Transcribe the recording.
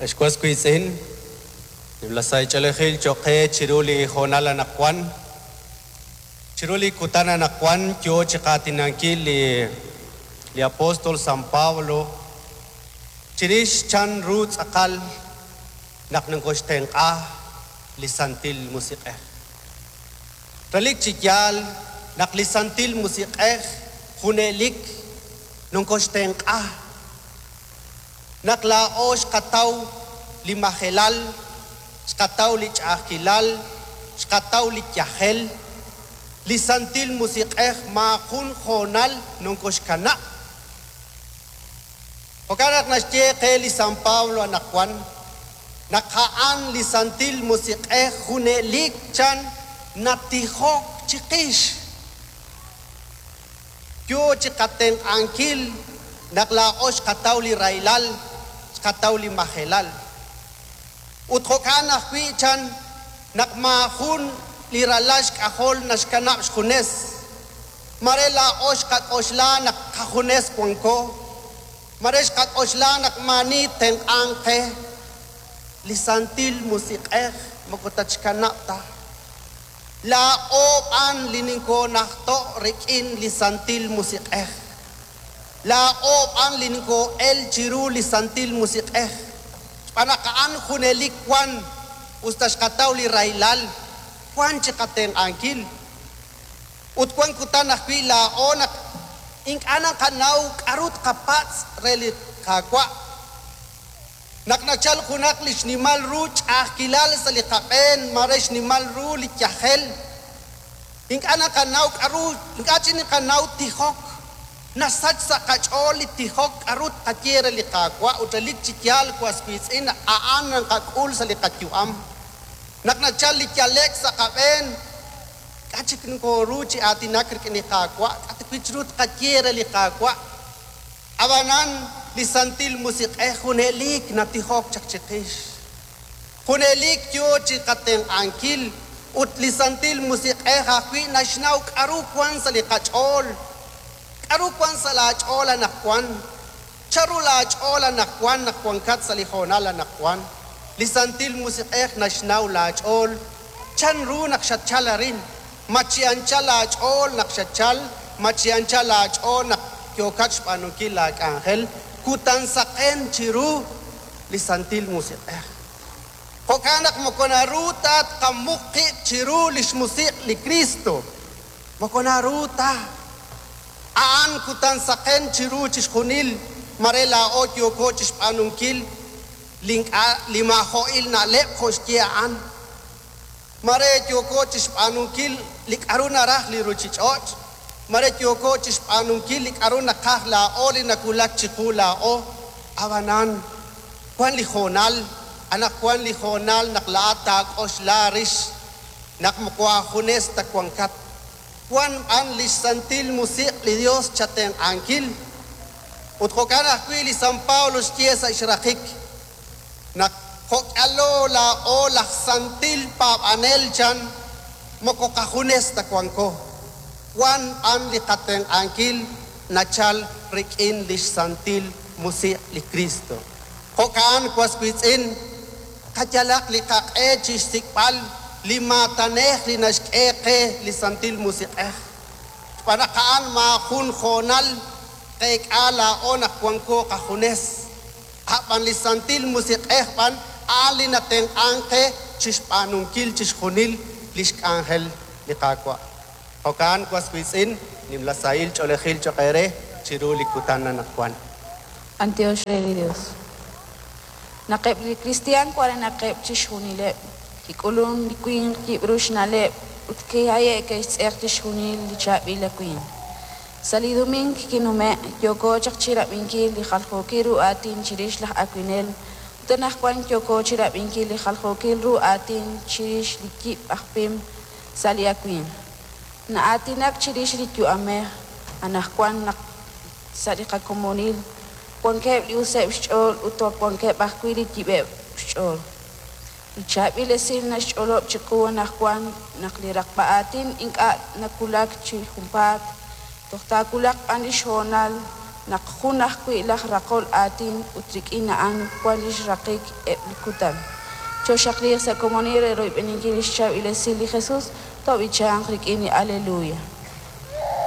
Ex was wiitz'in, nimla sahil ch'oolejil cho'q qe chiru li hoonal anaqwan. Chiru li kutan anaqwan yo chi qaatinankil li li apóstol San Pablo chirix chan ru tz'aqal naq nokoxtenq'a li Santil Musiq'ej. Relik chi yaal naq li Santil Musiq'ej junelik nokoxtenq'a. Naq laa'o xqataw li majelal, xqataw li ch'a'ajkilal, xqataw li yajel, li Santil Musiq'ej maajun hoonal nokoxkanab'. Jo'kan naq naxye qe li San Pablo anaqwan naq a'an li Santil Musiq'ej junelik chan natijok chiqix. Yo chi qatenq'ankil naq laa'o xqataw li rahilal, xqataw li majelal. Ut jo'kan ajwi' chan naq maajun li ralal xk'ajol naxkanab' xjunes. Mare laa'o xqak'oxla naq qajunes wanko, mare xqak'oxla naq maani tenq'anq qe. Li Santil Musiq'ej moko tatxkanab' ta. Laa'o b'an li ninkoonajto' rik'in li Santil Musiq'ej. Laa'o b'an li ninkoo'el chiru li Santil Musiq'ej. Xb'aan naq a'an junelik wan, us ta xqataw li rahilal, wan chi qatenq'ankil. Ut wan kutan ajwi' laa'o naq ink'a' naqanaw k'aru tqapatz' re li Qaawa'. Naq nachalk junaq li xnimal ru ch'a'ajkilal sa' li qab'een, mare xnimal ru li yajel, ink'a' naqanaw k'aru, ink'a' chik naqanaw tijok. Nasach sa' qach'ool li tijok k'aru tqaye re li Qaawa' ut relik chi yaal was wiitz'in a'an naqak'ul sa' li qayu'am. Naq nachalk li yale'k sa' qab'een, k'a' chik nokooru chi aatinak rik'in li Qaawa', k'a' ta wi' ru tqaye re li Qaawa'. Ab'anan li Santil Musiq'ej junelik natijok chaq chiqix. Junelik yo chi qatenq'ankil ut li Santil Musiq'ej ajwi' naxnaw k'aru wank sa' li qach'ool. K'aru wank sa' laach'ool anaqwan? Chanru laach'ool anaqwan naq wankat sa' li hoonal anaqwan? Li Santil Musiq'ej naxnaw laach'ool. Chanru naq xatchalk arin? Ma chi anchal aach'ool naq xatchalk? Ma chi anchal aach'ool naq yookat xb'aanunkil laak'anjel? Kutan saqen chiru li Santil Musiq'ej. Jo'kan naq moko naru ta tqamuq qib' chiru li xmusiq' li Kristo. Moko naru ta. A'an kutan saqen chiru chixjunil, mare laa'o yooko chi xb'aanunkil li ink'a' li maajo'il na'leb' jo' xye a'an. Mare yooko chi xb'aanunkil li k'aru naraj li ruuchich'och', mare yooko chi xb'aanunkil li k'aru naqaj laa'o li nawulak chiqu laa'o. Ab'anan wank li hoonal, anaqwan li hoonal naq laa'at taak'oxla rix naq moko aajunes ta wankat. Wank b'an li xSantil Musiq' li Yos chatenq'ankil. Ut jo'kan ajwi' li San Pablo xye sa' xraqik naq jo'k'alo laa'o laj santil paab'anel chan moko qajunes ta wanko. Wank b'an li qatenq'ankil nachalk rik'in li xSantil Musiq' li Kristo. Jo'kan was wiitz'in, qayalaq li qaq'e chi xsik'b'al li maatanej li naxk'e qe li Santil Musiq'ej. Xb'aan naq a'an maajun hoonal tqeek'a laa'o naq wanko qajunes. Ab'an li Santil Musiq'ej b'an a'an li natenq'ank qe chi xb'aanunkil chixjunil li xk'anjel li Qaawa'. Jo'kan was wiitz'in, nimla sahil ch'oolejil cho'q eere chiru li kutan anaqwan. B'antiox re li Dios. Naq eb' li kristiaan warenaqeb' chixjunileb', kik'ulun li winq yib' ru xna'leb' ut kihaye'k ke'xtz'eq chixjunil li chaab'il awimq. Sa' li doming kinume' yooko chaq chirab'inkil li jaljookil ru aatin chirix laj awinel ut anaqwan yooko chirab'inkil li jaljookil ru aatin chirix li yib' aj pim sa' li awimq. Na'aatinak chirix li yu'amej anaqwan naq sa' li qakomonil wankeb' li useb' xch'ool ut wankeb' ajwi' li yib'eb' xch'ool. Li chaab'il esil naxch'olob' chiqu anaqwan naq li raqb'a aatin ink'a' nawulak chi junpaat, toj taawulaq b'an li xhoonal naq jun ajwi' laj raqol aatin ut rik'in a'an wank li xraqik eb' li kutan. Chooxaqliiq sa' komonil re royb'eninkil lix chaab'il esil li Jesus, toob'ichanq rik'in li aleluya.